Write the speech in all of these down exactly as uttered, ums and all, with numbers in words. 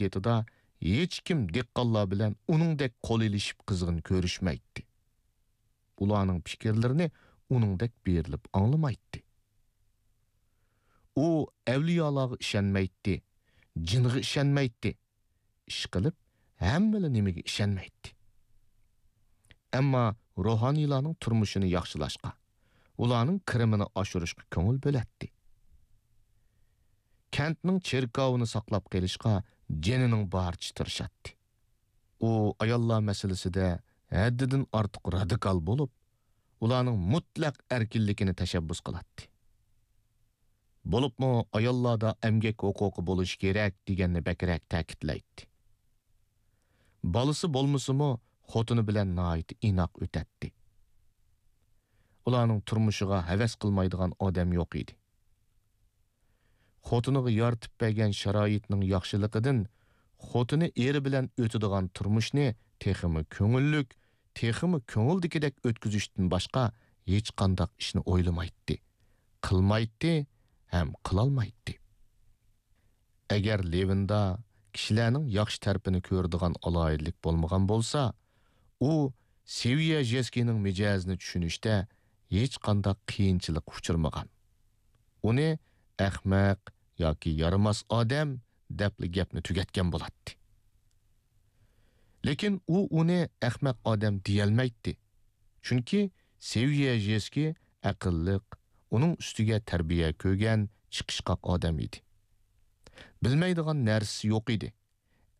مۇددىتىدا ھېچكىم دېھقانلار بىلەن ئۇنىڭدەك قول ئېلىشىپ قىزغىن كۆرۈشمەيتتى. ئۇلارنىڭ پىكىرلىرىنى ئۇنىڭدەك بېرىلىپ ئاڭلىمايتتى. ئۇ ئەۋلىيالارغا ئىشەنمەيتتى، جىنغا ئىشەنمەيتتى. ئىشقىلىپ، ھەممىلا نېمىگە ئىشەنمەيتتى. ئەمما روھانىيلارنىڭ تۇرمۇشىنى ياخشىلاشقا، ئۇلارنىڭ كىرىمىنى ئاشۇرۇشقا كۆڭۈل بۆلەتتى. كەنتنىڭ چېركاۋىنى ساقلاپ قېلىشقا جېنىنىڭ بارىچە تىرىشاتتى. ئۇ ئاياللار مەسىلىسىدە ھەددىدىن ئارتۇق رادىكال بولۇپ، ئۇلارنىڭ مۇتلەق ئەركىنلىكىنى تەشەببۇس قىلاتتى. بولۇپمۇ ئاياللاردا ئەمگەك ھوقۇقى بولۇشى كېرەك دېگەننى بەكرەك تەكىتلەيتتى. بالىسى بولمىسىمۇ، خوتۇنى بىلەن ناھايىتى ئىناق ئۆتەتتى. ئۇلارنىڭ تۇرمۇشىغا ھەۋەس قىلمايدىغان ئادەم يوق ئىدى. خوتۇنىغا يارىتىپ بەرگەن شارائىتنىڭ ياخشىلىقىدىن خوتۇنى ئېرى بىلەن ئۆتىدىغان تۇرمۇشنى تېخىمۇ كۆڭۈللۈك، تېخىمۇ كۆڭۈلدىكىدەك ئۆتكۈزۈشتىن باشقا ھېچقانداق ئىشنى ئويلىمايتتى، قىلمايتتى ھەم قىلالمايتتى. ئەگەر لېۋىندا كىشىلەرنىڭ ياخشى تەرىپىنى كۆرىدىغان ئالاھىدىلىك بولمىغان بولسا، ئۇ سېۋيەژېسكىينىڭ مىجەزىنى چۈشىنىشتە ھېچقانداق قىيىنچىلىققا ئۇچرىمىغان. ئۇنى ئەخمەق ياكى يارىماس ئادەم دەپلا گەپنى تۈگەتكەن بولاتتى. لېكىن ئۇ ئۇنى ئەخمەق ئادەم دېيەلمەيتتى. چۈنكى سېۋيەژېسكىي ئەقىللىق، ئۇنىڭ ئۈستىگە تەربىيە كۆرگەن، چىقىشقاق ئادەم ئىدى. بىلمەيدىغان نەرسىسى يوق ئىدى.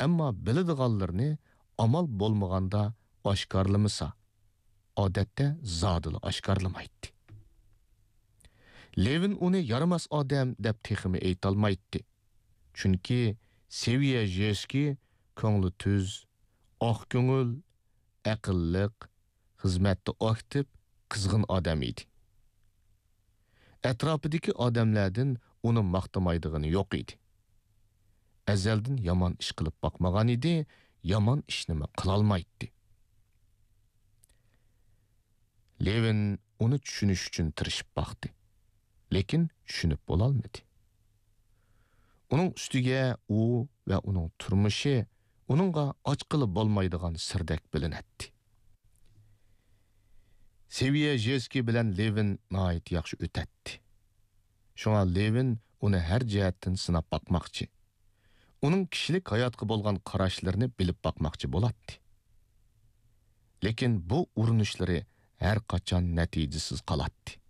ئەمما بىلىدىغانلىرىنى ئامال بولمىغاندا ئاشكارىلىمىسا، ئادەتتە زادىلا ئاشكارىلىمايتتى. لېۋىن ئۇنى يارىماس ئادەم دەپ تېخىمۇ ئېيتالمايتتى. چۈنكى سېۋيەژېسكىي كۆڭلى تۈز، ئاق كۆڭۈل، ئەقىللىق، خىزمەتتە ئاكتىپ، قىزغىن ئادەم ئىدى. ئەتراپىدىكى ئادەملەردىن ئۇنى ماختىمايدىغىنى يوق ئىدى. ئەزەلدىن يامان ئىش قىلىپ باقمىغان ئىدى، يامان ئىشنىمۇ قىلالمايتتى. لېۋىن ئۇنى چۈشىنىش ئۈچۈن تىرىشىپ باقتى. لېكىن چۈشىنىپ بولالمىدى. ئۇنىڭ ئۈستىگە ئۇ ۋە ئۇنىڭ تۇرمۇشى ئۇنىڭغا ئاچقىلى بولمايدىغان سىردەك بىلىنەتتى. سېۋيەژېسكىي بىلەن لېۋىن ناھايىتى ياخشى ئۆتەتتى. شۇڭا لېۋىن ئۇنى ھەر جەھەتتىن سىناپ باقماقچى. ئۇنىڭ كىشىلىك ھاياتقا بولغان قاراشلىرىنى بىلىپ باقماقچى بولاتتى. لېكىن بۇ ئۇرۇنۇشلىرى ھەر قاچان نەتىجىسىز قالاتتى.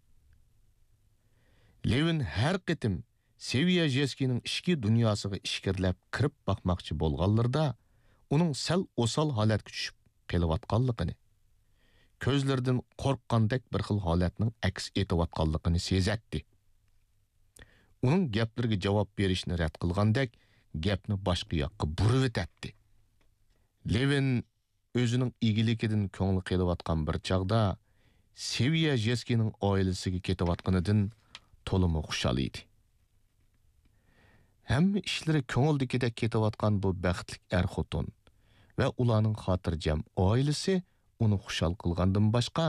لېۋىن ھەر قېتىم سېۋيەژېسكىينىڭ ئىچكى دۇنياسىغا ئىچكىرىلەپ كىرىپ باقماقچى بولغانلىرىدا، ئۇنىڭ سەل ئوسال ھالەتكە چۈشۈپ قېلىۋاتقانلىقىنى، كۆزلىرىدىن قورققاندەك بىر خىل ھالەتنىڭ ئەكس ئېتىۋاتقانلىقىنى سېزەتتى. ئۇنىڭ گەپلىرىگە جاۋاب بېرىشنى رەت قىلغاندەك، گەپنى باشقا ياققا بۇرۇۋېتەتتى. لېۋىن ئۆزىنىڭ ئىگىلىكىدىن كۆڭلى قېلىۋاتقان بىر چاغدا، سېۋيەژېسكىينىڭ ئائىلىسىگە كېتىۋاتقىنىدىن تولىمۇ خۇشال ئىدى. ھەممە ئىشلىرى كۆڭۈلدىكىدەك كېتىۋاتقان بۇ بەختلىك ئەر-خوتۇن ۋە ئۇلارنىڭ خاتىرجەم ئائىلىسى ئۇنى خۇشال قىلغاندىن باشقا،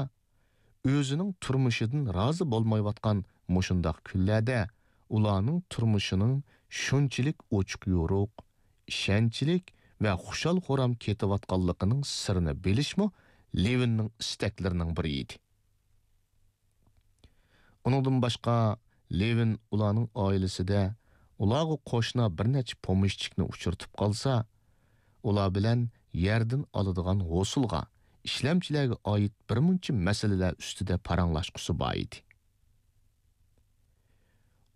ئۆزىنىڭ تۇرمۇشىدىن رازى بولمايۋاتقان مۇشۇنداق كۈنلەردە ئۇلارنىڭ تۇرمۇشىنىڭ شۇنچىلىك ئوچۇق-يورۇق، ئىشەنچلىك ۋە خۇشال-خۇرام كېتىۋاتقانلىقىنىڭ سىرىنى بىلىشمۇ لېۋىننىڭ ئىستەكلىرىنىڭ بىرى ئىدى. ئۇنىڭدىن باشقا، لېۋىن ئۇلارنىڭ ئائىلىسىدە ئۇلارغا قوشنا بىر نەچچە پومېشچىكنى ئۇچرىتىپ قالسا، ئۇلار بىلەن يەردىن ئالىدىغان ھوسۇلغا، ئىشلەمچىلەرگە ئائىت بىر مۇنچە مەسىلىلەر ئۈستىدە پاراڭلاشقۇسى بار ئىدى.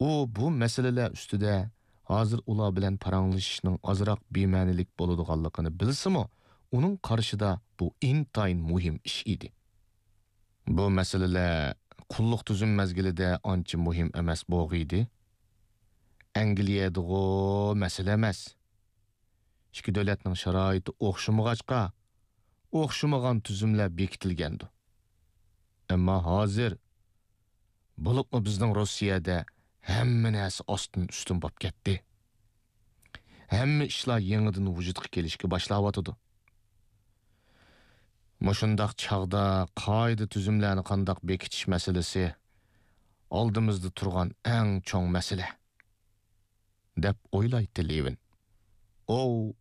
ئۇ بۇ مەسىلىلەر ئۈستىدە ھازىر ئۇلار بىلەن پاراڭلىشىشنىڭ ئازراق بىمەنىلىك بولىدىغانلىقىنى بىلسىمۇ، ئۇنىڭ قارىشىدا بۇ ئىنتايىن مۇھىم ئىش ئىدى. بۇ مەسىلىلەر قۇللۇق تۈزۈم مەزگىلىدە ئانچە مۇھىم ئەمەس بولغىيدى. ئەنگلىيەدىغۇ مەسىلە ئەمەس. ئىككى دۆلەتنىڭ شارائىتى ئوخشىمىغاچقا، ئوخشىمىغان تۈزۈملەر بېكىتىلگەندۇ. ئەمما ھازىر، بولۇپمۇ بىزنىڭ روسىيەدە ھەممە نەرسە ئاستىن ئۈستۈن بولۇپ كەتتى. ھەممە ئىشلار يېڭىدىن ۋۇجۇدقا كېلىشكە باشلاۋاتىدۇ. مۇشۇنداق چاغدا قائىدە تۈزۈملەرنى قانداق بېكىتىش مەسىلىسى ئالدىمىزدا تۇرغان ئەڭ چوڭ مەسىلە، دەپ ئويلايتتى لېۋىن. ئوۋ.